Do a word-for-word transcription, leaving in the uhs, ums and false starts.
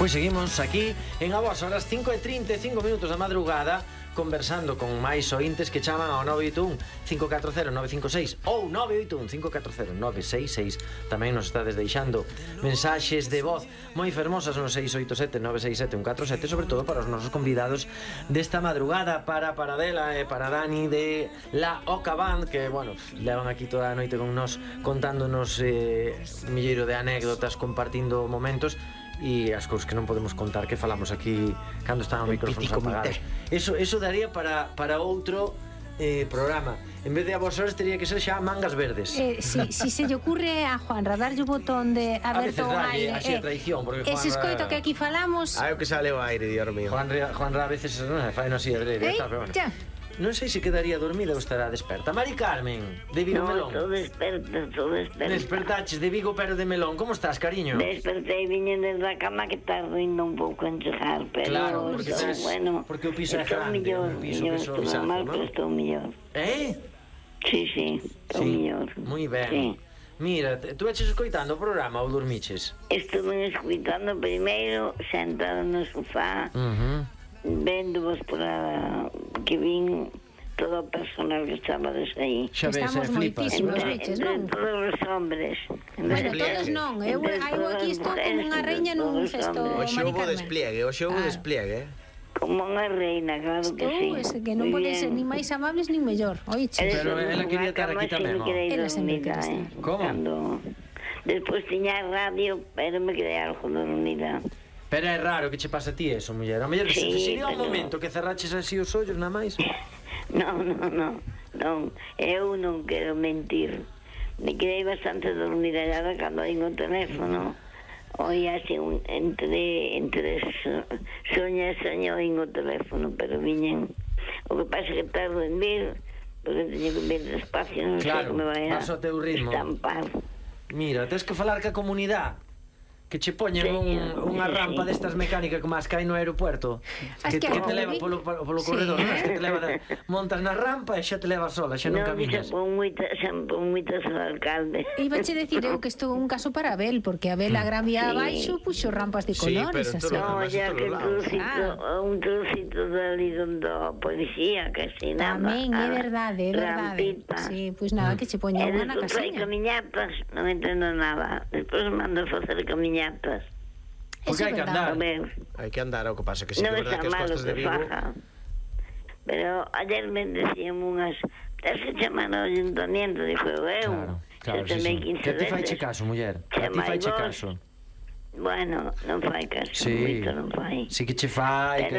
Pois seguimos aquí en a vos, a las cinco e trinta e cinco minutos da madrugada, conversando con máis ointes que chaman ao nove oito un, cinco catro cero, nove cinco seis ou nove oito un, cinco catro cero, nove seis seis. Tamén nos estades deixando mensaxes de voz moi fermosas no seis oito sete, nove seis sete, un catro sete, sobre todo para os nosos convidados desta madrugada, para Paradela e para Dani de La Oca Band, que, bueno, levan aquí toda a noite con nos contándonos eh, un milleiro de anécdotas, compartindo momentos e as cousas que non podemos contar que falamos aquí cando están os micrófonos apagados. Eso, eso daría para, para outro eh, programa. En vez de a vos horas teria que ser xa mangas verdes. Eh, si, si se lle ocurre a Juanra darlle o botón de aberto ao aire, así a traición, porque ese escoito que aquí falamos, ah, é o que sale o aire, Dios mío. Juanra, Juanra a veces non fai no así adrede, eh, pero bueno. xa. Non sei se quedaría dormida ou estará desperta. Mari Carmen, de Vigo no, Melón. estou desperta, estou desperta. Despertaches de Vigo pero de Melón. Como estás, cariño? Despertei, viñen desde a cama que está rindo un pouco en chegar, pero claro, porque, estou, tes, bueno, porque o piso é grande, millor, o piso millor, que so, estou pisazo, mal, ¿no? pero estou millor. Eh? Sí, sí, estou sí. millor. Moi ben. Sí. Mira, tú eches escoitando o programa ou dormiches? Estuve escuitando primeiro, sentado no sofá, Uh -huh. vendo vos para que vin todo o personal que estabades aí. Xa ves, eh, flipas. moitísimos, Entre, biches, entre non? todos os hombres. Bueno, todos non, eu, eu aquí estou como unha reina nun cesto, Hoxe Mari houve Carmen. despliegue, hoxe houve Claro. despliegue, eh? Como unha reina, claro que sí. Estou, ese que non Muy poden bien. ser ni máis amables ni mellor. Oiche. Eres Pero unha ela quería estar cama aquí tamén, sin ó. querer Ela sempre dormida, quere eh. estar. Como? Cando... Despois tiña radio, pero me quedei algo dormida. Pero é raro que che pase a ti eso, muller. A muller, Sí, se sería un pero- momento que cerraches así os ollos, nada máis. Non, non, non, non. Eu non quero mentir. Me quedei bastante dormida ya cando oín o teléfono. Oía así un, entre, entre so, soña e soña oín o teléfono, pero viñen. O que pasa que tardo en vir, porque teño que vir despacio, non sei Claro, que me vai a vas ao teu ritmo. estampar. Mira, tens que falar ca comunidade. Que che poñen Sí, un, unha sí. rampa destas mecánicas como as que hai no aeropuerto. As Que, que que te hai, leva vi? polo, polo Sí. corredor, non? As que te leva de, montas na rampa e xa te leva sola, xa non Non, camiñas. xa pon moita, xa pon moitas ao alcalde. Iba che decir eu que isto é un caso para Abel, porque Abel a Gran Vía Sí. abaixo puxo rampas de Sí, colores, pero así. todo- No, Además, ya en que todos un lados. trocito, un trocito dali donde a policía, que se nada. Tamén é verdade, é verdade. Rampita. Sí, pois nada, que che poña E unha na despois fai casiña. camiñatas, non entendo nada. Despois mando facer camiñatas. Porque Eso hai é que verdade. A andar. ver, Hai que andar, o que pasa que sí que non é verdad está que as malo costas de que Vigo... faja. Pero ayer me decían unhas, tens que chamar ao ayuntamiento, dixo eu. Claro, claro, sí, sí. Que te fai che caso, muller? Que ti fai che caso? Bueno, non fai caso, Sí. moito non fai. Sí que che fai, que Pero